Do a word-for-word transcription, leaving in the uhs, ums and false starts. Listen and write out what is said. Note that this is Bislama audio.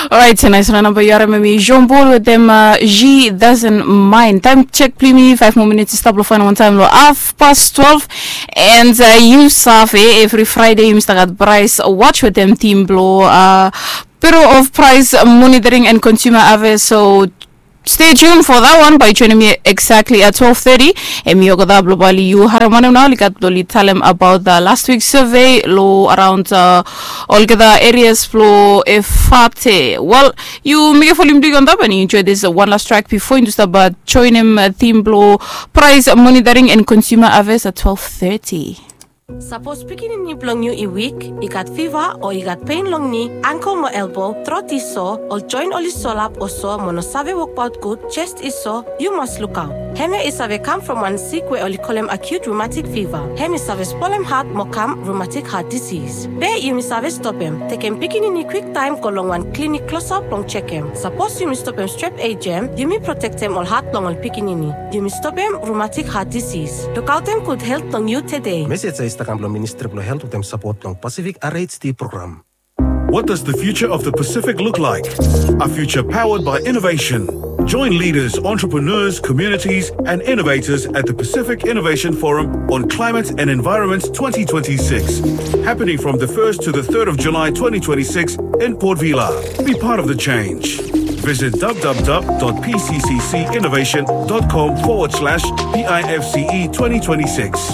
Orait, naes wan namba yu harim em i Jean Paul wetem She Doesn't Mind. Taem jek blong yumi, faef moa minits i stap long faenem wantaem long haf pas twelve. And yu save evri Fraede yumi stap gat Price Watch wetem tim blong Bureau of Price Monitoring and Consumer Affairs. So stay tuned for that one. Bae yu joenem mi exactly at twelve thirty. Hemi olgeta blong bae oli yu harim wanem nao oli gat blong oli talem about the last week survey long around olgeta areas blong Efate. Wel, yu mekem folem big on top and yu enjoy this one last track before yu stap joenem tim blong Price Monitoring and Consumer Affairs at twelve thirty. Sapos pikinini blong yu i wik, i gat fiva o i gat pen long ni, angkel mo elbo, trot i so, ol joen oli solap o so mo no save wokbaot gud, jes i so, yu mas lukaot. Hemia i save kam from wan sik we oli kolem acute rheumatic fever. Hem i save spolem hat mo kam rheumatic heart disease. Be yumi save stopem. Tekem pikinini kwiktaem go long wan klinik klosap blong jekem. Sapos yumi stopem strep ejem, yumi protektem ol hat blong ol pikinini. Yumi stopem rheumatic heart disease. Lukaotem gud helt blong yu tede. Mesej ya i stap kam blong Ministri blong Helt wetem sapot blong Pacific R H D program. What does the future of the Pacific look like? A future powered by innovation. Join leaders, entrepreneurs, communities, and innovators at the Pacific Innovation Forum on Climate and Environment twenty twenty-six, happening from the first to the third of July twenty twenty-six in Port Vila. Be part of the change. Visit w w w dot p c c c innovation dot com forward slash p i f c e twenty twenty-six.